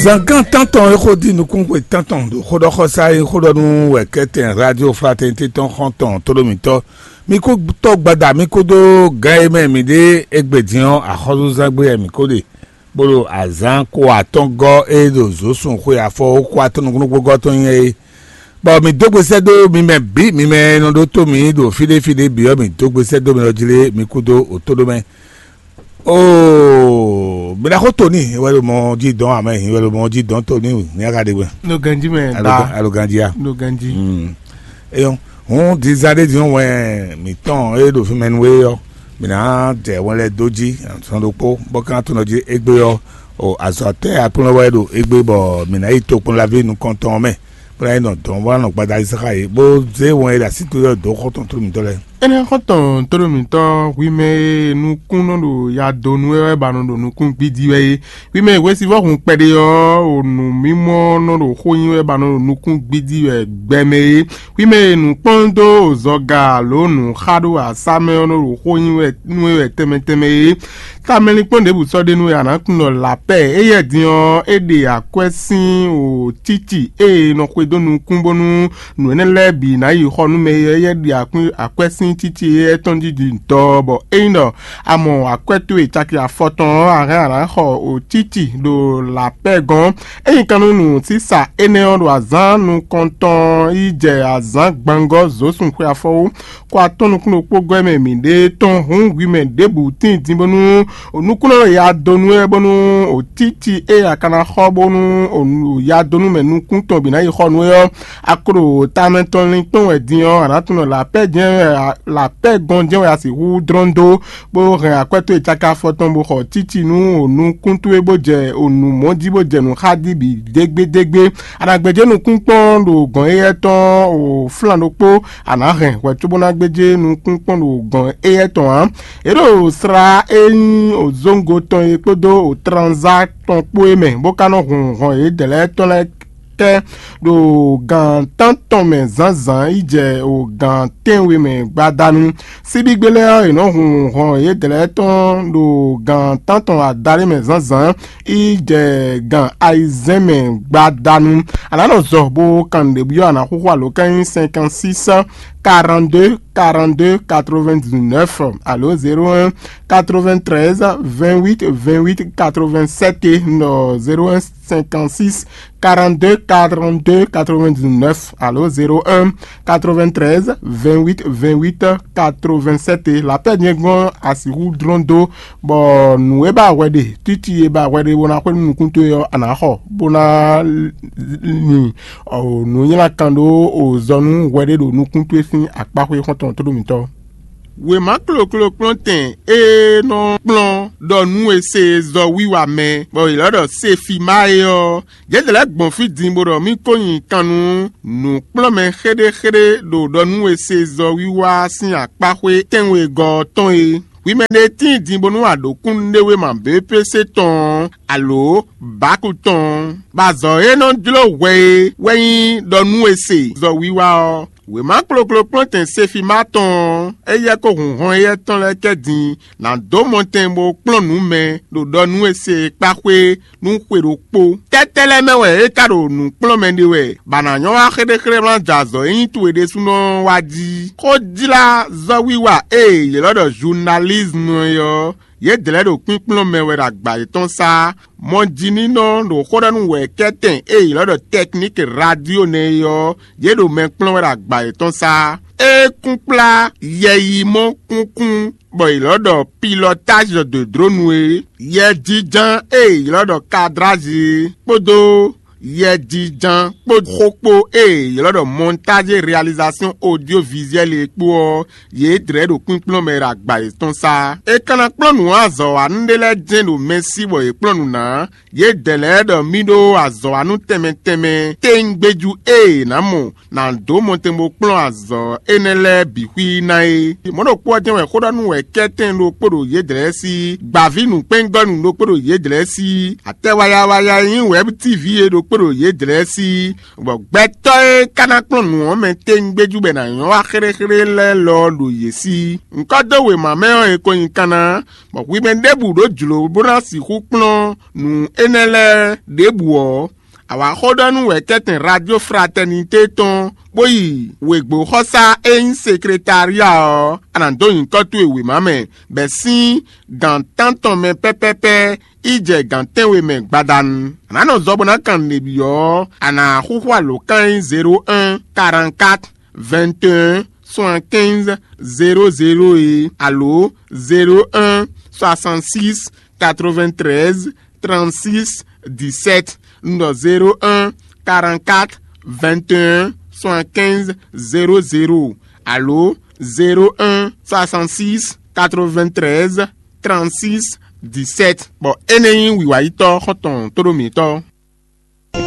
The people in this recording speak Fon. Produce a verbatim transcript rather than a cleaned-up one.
Zǎngán tántɔn e xó dí nukúnxwe tántɔn ɖo xóɖɔxɔsá e xó ɖɔ nú wɛ̌kɛ́tɛn Radio Fraternité tɔn xɔ́ntɔn tóɖómítɔ́, mi kó tɔ́ gbada mi kó dó gǎn e mɛ mǐ ɖe égbé din ɔ́, axɔ́súzángbe wɛ mǐ kó ɖe, bó ɖo azǎn ko atɔ́ngɔ́ e ɖo zǒsun xwe afɔ kó atɔ́ nukúnnú gɔ́ tɔn nyɛ é. Bɔ mǐ dó gbe sɛ́ dó mi mɛ bǐ, mi mɛ e nɔ ɖótó mǐ ɖo fí ɖé fí ɖé bǐ ɔ́, mǐ dó gbe sɛ́ dó mi ɔ́ jlé mi kúdó òtóɖó mɛ. Oo, mi ɖaxó Toni wɛ ɖo mɔ jí dɔn amɛ, hin wɛ ɖo mɔ jí dɔn Toni, ní a ka ɖe gbɛ. Ɖo ganjí mɛ Alo da. Alo ganjí a? Ɖo ganjí. Mm. Eyɔn, hǔn dizan ɖé din wɛ mǐtɔn e ɖo fí mɛ nú we ɔ́, mǐ ná jɛ wɛn lɛ́ɛ dó jí sɔn ɖokpó, bɔ kan tunɔ jí égbé ɔ́, o azɔ̌ tɛ́ aklúnɔ wɛ ɖo égbé bɔ mǐ ná yi tokpɔnlaví nukɔntɔn ɔ́ mɛ, bó ná yi nɔ dɔn bó ná nɔ gbada yí sáxa yě, bó zé wɛn e ɖo así towe ɔ́ dó xɔ́ntɔn tlóló mǐtɔn lɛ́ɛ. Énɛ́ xɔ́ntɔn tlóló mǐtɔn hwi mɛ e nukún nɔ ɖo ya dó nú wɛ wɛ ba nɔ ɖo nukún gbídí wɛ é. Hwi mɛ e hwesivɔ́ hun kpɛɖé ɔ́, o nǔmimɔ nɔ ɖo xó nyi wɛ ba nɔ ɖo nukún gbídí wɛ gbɛ mɛ é. Hwi mɛ e nǔ kpɔ́n dó zɔga alo nǔ xa ɖo asá mɛ ɔ́ nɔ ɖo xó nyi wɛ nú we wɛ tɛnmɛ tɛnmɛ é. Tamɛlinkpɔ́n ɖěbǔ sɔ́ ɖe nú we a nǎ tunwun ɖɔ lapɛ́ éyɛ́ din ɔ́, é ɖe akwɛ́ sín o títì e è nɔ xwedó nukún bónú nǔ énɛ́ lɛ́ɛ bǐ ná yi xɔ nú mɛ e éyɛ́ ɖe akwɛ́ sín títì éyɛ́ tɔn jí din dɔ, bɔ ényí ɖɔ a mɔ akwɛ́ towe caki afɔtɔn ɔ́, a hɛn a nǎ xɔ o títì ɖo lapɛ́ gɔ́n. Ényí kan nú nǔsísa énɛ́ ɔ́ ɖo azǎn nukɔntɔn yi jɛ azǎn gbangɔ́ zǒsun xwe afɔwú, kó atɔ́ nukún ɖokpó gɔ́ mɛ mǐ ɖe tɔn hǔn hwi mɛ ɖěbǔ tíin din bónú nukúnnɔ ya dó nú ɛ bónú o títí e a ka ná xɔ bónú o ya dó nú mɛ nukún tɔn bǐ ná yi xɔ nú ɛ ɔ́, a ko ɖo tamɛ tɔn linkpɔ́n wɛ din ɔ́, a nǎ tunwun ɖɔ lapɛ́ jɛ́n wɛ a- lapɛ́ gɔn jɛ́n wɛ a sixú dlɔ́n dó, bó hɛn akwɛ́ towe cáká afɔ tɔn bó xɔ títí nú o nukún towe bó jɛ o nǔ mɔ̌ jí bó jɛ nǔ xá jí bǐ dégbédégbé. A nǎ gbéjé nukún kpɔ́n ɖo gɔ̌n éyɛ́ tɔn o flán ɖokpó, a nǎ hɛn hwɛ cóbó ná gbéjé nukún kpɔ́n ɖo gɔ̌n éyɛ́ tɔn ǎ. É ɖo slá e nyí o zóŋgo tɔn e kpódó o tranzá tɔn kpó é mɛ, bó ka nɔ hun hɔn yědɛɛ lɛ́ɛ tɔn lɛ́ɛ kɛ ɖo gǎn tántɔn mɛ zǎnzǎn yi jɛ o gǎn tɛ́nwe mɛ gbadanu. Síbígbé lɛ́ɛ ɔ́, è nɔ́ hun hɔn yědɛɛ lɛ́ɛ tɔn ɖo gǎn tántɔn adaɖé mɛ zǎnzǎn yi jɛ gǎn ayizɛ́n mɛ gbadanu. A nǎ nɔ zɔ bó kan nǔɖé byɔ́ a nǎ xúxú alo ká nyí cinquante-six quarante-deux quarante-deux quatre-vingt-dix-neuf alo zéro un quatre-vingt-treize vingt-huit vingt-huit quatre-vingt-sept, nɔ zéro un cinquante-six quarante-deux quarante-deux quatre-vingt-dix-neuf alo zéro un quatre-vingt-treize vingt-huit vingt-huit quatre-vingt-sept. Lapɛ́ din gbɔn a sixú dlɔ́n dó, bɔ nǔ e ba hwɛ ɖe, títí e ba hwɛ ɖe bó ná xwé nú nukún towe ɔ́, a nǎ xɔ, bó ná nyi nǔnywlakan ɖó o zɔ nú hwɛ ɖé ɖo nukún towe sín akpáxwé xɔ́ntɔn tóɖó mǐtɔn. Wěma kloklo kplɔ́ntɛn e nɔ kplɔ́n ɖɔ nú e se zɔ wiwa mɛ, bɔ è lɔ́ ɖɔ Sefima é ɔ́, yědɛɛ lɛ́ɛ gbɔn fí din bó ɖɔ mì ko nyi kan nú nǔkplɔ́nmɛ xéɖéxéɖé ɖo ɖɔ nú e se zɔ wiwa sín akpáxwé tɛ́nwegɔ́ ɔ́ tɔn é. Hwi mɛ ɖé tíin din bónú a ɖǒ kúnnuɖéwéma B P C tɔn ɔ́, alo Baku tɔn ɔ́, bɔ azɔ̌ e nɔ jló hwɛ é wɛ nyí ɖɔ nú e se zɔ wiwa ɔ́. Wěma kloklo kplɔ́ntɛn Sefima tɔn ɔ́, éyɛ́ kó hun hɔn éyɛ́ tɔn lɛ́ɛ kɛ din nǎ dó mɔtɛn bó kplɔ́n nǔ mɛ ɖo ɖɔ nú e se kpáxwé nú xwe ɖokpó. Tɛ́tɛ́ lɛ́ɛ mɛ wɛ é ka ɖo nǔ kplɔ́n mɛ ɖe wɛ, bɔ a nǎ nyɔ́ wá xéɖéxéɖé ná jɛ azɔ̌ e nyí towe ɖésúnɔ ɔ́ wá jí. Xójlázɔ́wiwa e yě lɔ́ ɖɔ zunalízmu é ɔ́, yědɛɛ lɛ́ɛ ɖo kpínkplɔ́n mɛ wɛ ɖo agba yětɔn sá. Mɔjínínɔ ɖo xó ɖɔ nú wɛ̌kɛ́tɛn e yě lɔ́ ɖɔ tɛkník radio nɛ́ é ɔ́, yě ɖo mɛ kplɔ́n wɛ ɖo agba yětɔn sá. É kún kplá yɛyimɔ kúnkún, bɔ yě lɔ́ ɖɔ pilɔtáj de dronu é, yɛjínján e yě lɔ́ ɖɔ kadrázi é, kpódó yɛjínján kpó xó kpó e yě lɔ́ ɖɔ mɔntáj réalizasyon odyovizuɛ́l é kpó ɔ́, yě dlɛ̌ ɖo kpínkplɔ́n mɛ ɖo agba yětɔn sá. È ka ná kplɔ́n nǔ azɔ̌wanú ɖé lɛ́ɛ jɛ́n ɖo mɛ sí bɔ yě kplɔ́n nǔ ná. Yědɛɛ lɛ́ɛ ɖɔ mì ɖó azɔ̌wanú tɛnmɛ tɛnmɛ téńgbéjú e è nǎ mɔ nǎ dó mɔtɛn bó kplɔ́n azɔ̌ énɛ́ lɛ́ɛ bǐ xwí ná é. Mɔ̌ ɖokpó ɔ́ jɛ́n wɛ xó ɖɔ nú wɛ̌kɛ́tɛn ɖokpó ɖo yědɛɛ lɛ́ɛ sí, gbǎví nǔkpɛ́ngɔ́nú ɖokpó ɖo yědɛɛ lɛ́ɛ sí, atɛ wayawaya e nyí wɛ̌b tíví é ɖokpó kpó ɖo yědɛɛ sí, bɔ gbɛtɔ́ e ka ná kplɔ́n nǔ ɔ́ mɛ tɛ́ngbéjú bɔ è nǎ nyɔ́ wá xéɖéxéɖé lɛ́ɛ lɔ ɔ́ ɖo yě sí. Ŋkɔ́ dó wěma mɛ ɔ́, è ko nyi kanna, bɔ hwi mɛ ɖěbǔ ɖó jlǒ bó ná sixú kplɔ́n nǔ énɛ́ lɛ́ɛ ɖěbǔ ɔ́, a wǎ xó ɖɔ nú wɛ̌kɛ́tɛn Radio Fraternité tɔn, bó yi wěgbóxɔsá e nyí sekretária ɔ́, a nǎ dó nyǐkɔ towe wěma mɛ, bɔ è sín gǎn tántɔn mɛ pɛ́pɛ́pɛ́ yi jɛ gǎn tɛ́nwe mɛ gbadanu. A nǎ nɔ zɔ bó ná kan nǔɖé byɔ́ ɔ́, a nǎ xúxú alǒkan e nyí zéro un, quarante-quatre, vingt et un, soixante-quinze, zéro zéro é, alo zéro un, soixante-six, quatre-vingt-treize, trente-six, dix-sept. Un ɖɔ zéro un, quarante-quatre, vingt et un, soixante-quinze, zéro zéro, alo zéro un, soixante-six, quatre-vingt-treize, trente-six, dix-sept. Bɔ énɛ́ nyí wǐwáyítɔ́ xɔ́ntɔn tóɖó mǐtɔn.